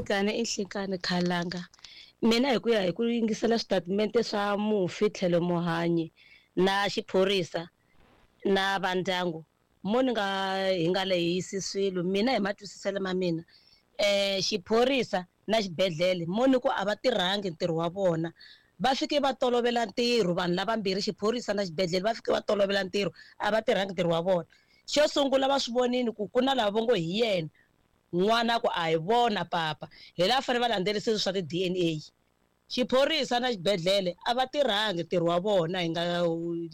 Nhlikani i nhlikani khalanga. Mina hi ku ya hi ku yingisela switatimende swa mufi tlhelo muhanyi na xiphorisa na vandyangu mo ni nga hi nga lehisi swilo mina hi matwisiselo ma mina xiphorisa na xibedhlele mo ni ku a va tirhangi ntirho wa vona va fike va tolovela ntirho vanhu lavambirhi xiphorisa na xibedhlele va fike va tolovela ntirho a va tirhangi ntirho wa vona xo sungula va swi vonile ku ku na lava vo ngo hi yena n'wana ku a hi vona papa hi laha fanele va landzelerisa swa ti-D_N_A xiphorisa na xibedhlele a va tirhangi ntirho wa vona hi nga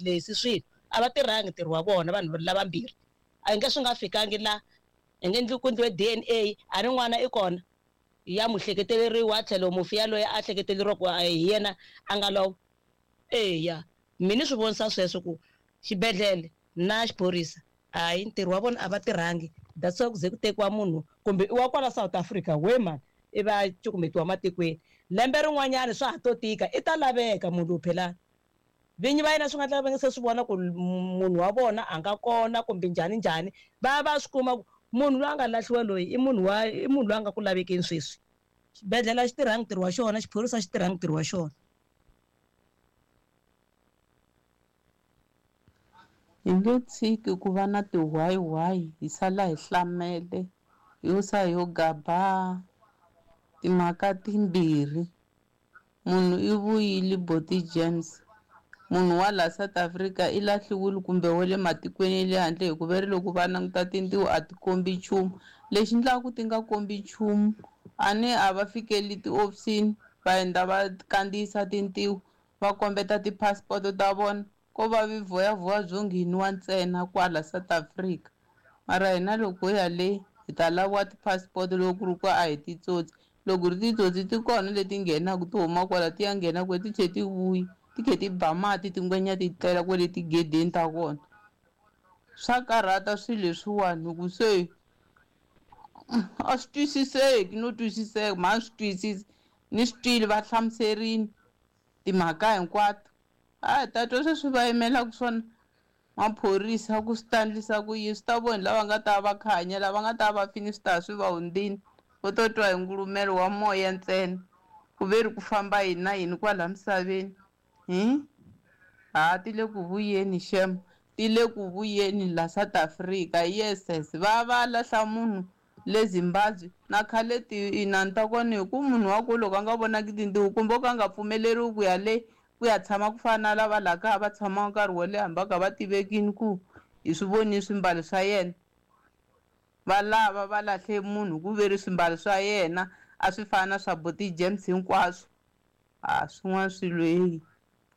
lehisi swilo a va tirhangi ntirho wa vona vanhu lavambirhi a hi nge swi nga fikangi la hi nge ndli ku endliwe D_N_A a ri n'wana i kona ya muhleketeleriwa tlhelo mufi yaloye a hleketeleriwa ku hi yena a nga lova eya mina ni swi vonisa sweswo ku xibedhlele na xiphorisa hayi ntirho wa vona a va tirhangi that's why ku ze ku tekiwa munhu kumbe i wa kwala South Africa we mani i va cukumetiwa matikweni lembe rin'wanyana swa ha to tika i ta laveka munhu lowu phela vinyi va yena swi nga tla va nge se swi vona ku munhu wa vona a nga kona kumbe njhani njhani va va swi kuma ku munhu loyi a nga lahliwa loyi i munhu wa i munhu loyi a nga ku lavekeni sweswi xibedhlele a xi tirhangi ntirho wa xona xiphorisa xi tirhangi ntirho wa xona. Hi nge tshiki ku va na tihwayiwayi hi sala hi hlamele yo sa yo gaba timhaka timbirhi munhu i vuyile Boti James munhu wa la South Africa i lahliwile kumbe wa le matikweni ya le handle hikuva ri loko va languta tintiho a ti kombi nchumu lexi endlaka ti nga kombi nchumu a ni a va fikeli tihofisini va endla va kandziyisa tintiho va kombeta ti-passport ta vona ko va vivoyavoya byo ngheniwa ntsena kwala South Africa mara hina loko ho ya le hi ta laviwa ti-passport loko ku ri ku a hi titsotsi loko ri titsotsi ti kona leti nghenaka ti huma kwala ti ya nghena kwe ti tlhe ti vuya ti khe ti ba mati tingwenya ti tlela kwale tigedeni ta kona swa karhata swilo leswiwani hi ku se a swi twisiseki no twisiseka mhani swi twisisi ni swi twile va hlamuserini timhaka hinkwato a hi ta twa sweswi va yimelaka swona maphorisa ku swi ta endlisa ku yini swi ta vona lava nga ta va khanya lava nga ta va fini swi ta swi va hundzini vo to twa hi ngulumelo wa moya ntsena ku ve ri ku famba yini na yini kwala misaveni hi ha ti le ku vuyeni xem ti le ku vuyeni la South Africa yes yes va va lahla munhu le Zimbabwe na khale tinani ta kona hi ku munhu wa ku loko a nga vonaki tintiho kumbe o ka a nga pfumeleriwi ku ya le ku ya tshama ku fana na lava laha kaya va tshamaka nkarhi wo leha hambi va kha va tivekini ku hi swi vonile swimbalo swa yena va lava va lahle munhu ku ve ri swimbalo swa yena a swi fana na swa Boti James hinkwaswo a swin'wana swilo heyi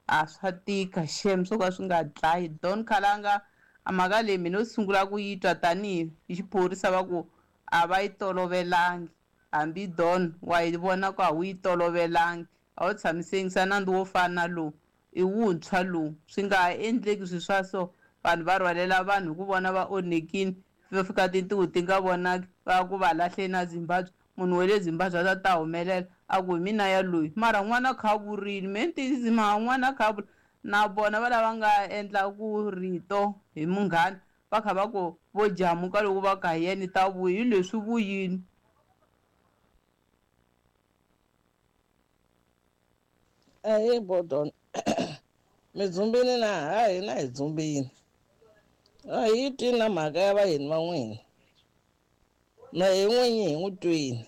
a swa tika xem swo ka swi nga dlayi Don Khalanga a mhaka leyi mina yo sungula ku yi twa tanihi hi xiphorisa va ku a va yi tolovelangi hambi Don wa yi vona ku a wu yi tolovelangi a wu tshamisengisa nandzu wo fana na lowu i wuntshwa lowu swi nga ha endleki swilo swa so vanhu va rhwalela vanhu hi ku vona va onhekini va fika tintiho ti nga vonaki va ku va lahle na Zimbabwe munhu wa le Zimbabwe a ta ta humelela a ku hi mina ya loyi mara n'wana kha a vurile me ni tiyisisi mara n'wana kha a vula na vona va lava nga endla ku rito hi munghana va kha va ku vo jamuka loko va ka hi yena ta vuya hi leswi vuyini. Ahee Bodon mi dzumbini na ha hina hi dzumbini a hi twi na mhaka ya vayeni va n'wina na hi n'winyi hi n'wi twini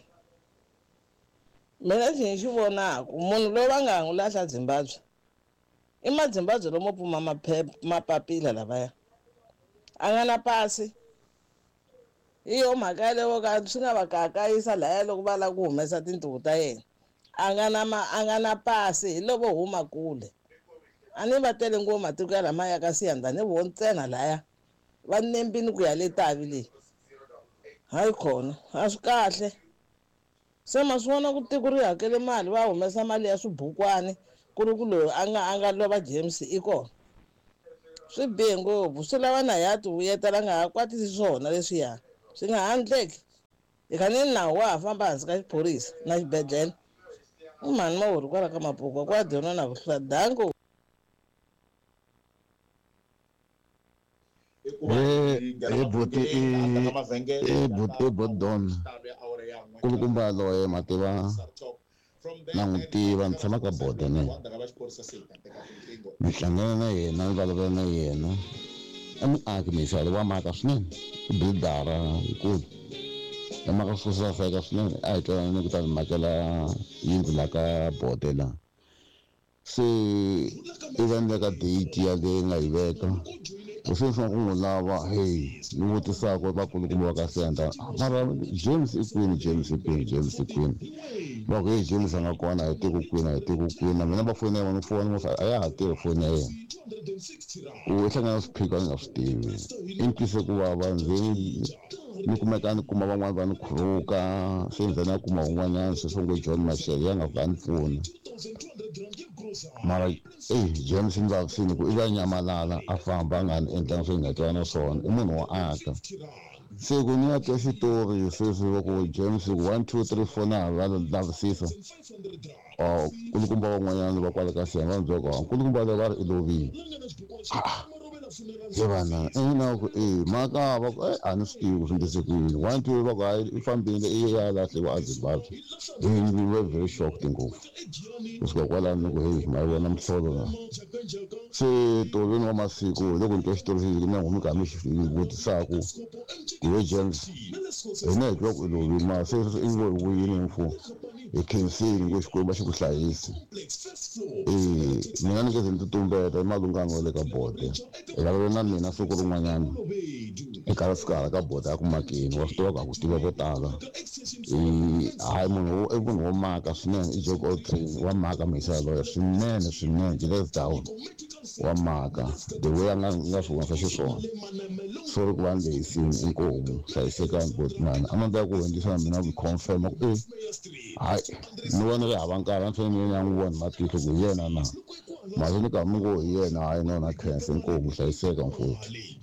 mina lexi ni xi vonaku munhu loyi va nga n'wi lahla Zimbabwe i mazimbabwe lomo pfuma maphepha mapapila lavaya a nga na pasi hi yo mhaka yaleyo ka swi nga va kakayisa laya loko va lava ku humesa tintiho ta yena a nga na ma a nga na pasi hi lovo huma kule a ni va tele ngopfu matiko ya lamaya ka siyanda ni vo ntsena laya va nembini ku ya le tavi leyi hayi khona a swi kahle se ma swi vona ku tiko ri hakele mali va humesa mali ya swibukwani ku ri ku loyi a nga a nga lova James i kona swi bihe ngopfu swi lava na ya ti vuyetela nga ha kwatisi swona leswiya swi nga ha endleki hi kha ni nawu wa ha famba hansi ka xiphorisa na xibedhlele i mhani mawuri kwala ka mapukwa kwa dyona na ku hlula danko. He he buti i he buti i bot Don. Kulukumba yaloye ma tiva na n'wi tiva ni tshama ka boda na yena. Ni hlangana na yena ni vulavula na yena. I muaki mixalo wa maka swinene, i buildara yikulu. Ya maka swo saseka swinene, a hi twanane ku ta ni makela yindlu la ka bode la. Se i va ni le ka date yaleyi nga yi veka. Loko se ni sungula ku n'wi lava heyi ni vutisaka vakulukumba va ka Senda, mara James i kwini, James i kwini, James i kwini? Va ku heyi James a nga kona a hi tivi ku kwini, a hi tivi ku kwini. Na mina va foni ya yena ni fona a ya ha tirhi foni ya yena. Ku i hlangana na swiphiqo a ni nga swi tivi. I ni twise ku vava ndzi ni kumeka ni kuma van'wani va ni khuruka se ni za ni ya kuma un'wanyana sweswi ngo John Mashele ya nga fika a ni pfuna. Mara eyi James ni vavisile ku i va nyamalala a famba a nga ni endlanga swo ni nga twana swona i munhu wo aka. Se ku ni ya twa xitori sweswi va ku James ku 1 2 3 4 na ha va lavisisa nkulukumba van'wanyana va kwale ka Siya va ni byela ku nkulukumba loyi va ri i lovile. He vana ina ku e maka va ku a ni swi tivi ku swi endlise ku yini. 1 2 va ku hayi i fambile i ya lahliwa a Zimbabwe. Heyi ni ve very shocked ngopfu. Kusuka kwalano ni ku heyi ma yi vona mihlolo la. Se tolweni wa masiku hi loko ni twa xitori xexi na n'wina mi karhi mi xi vutisaka ku he James hina hi twa ku i lovile mara se i ngo hi vuyile mfo hi khensile ngo Xikwembu a xi ku hlayisi. Mina ni nge ze ni ti tumbeta i malungana wa le ka bode. Hi vulavula na mina siku rin'wanyana hi karhi fika hala ka bode a ku makeni wa swi tiva ku a ku tiva vo tala. Hayi munhu i munhu wo maka swinene i jack all trades wa maka muyisa yaloye swinene swinene jealous down wa maka the way a nga nga swi vonisa xiswona. Sorry ku va ni lehisini inkomu hlayisekani botman a ni ta ku hundzisa na mina ku confirm ku e hayi ni vona ri hava nkarhi a ni fanele ni ya n'wi vona hi matihlo ku hi yena na. Mara ni karhi ni ngo hi yena hayi no na khensa inkomu hlayiseka mfowethu.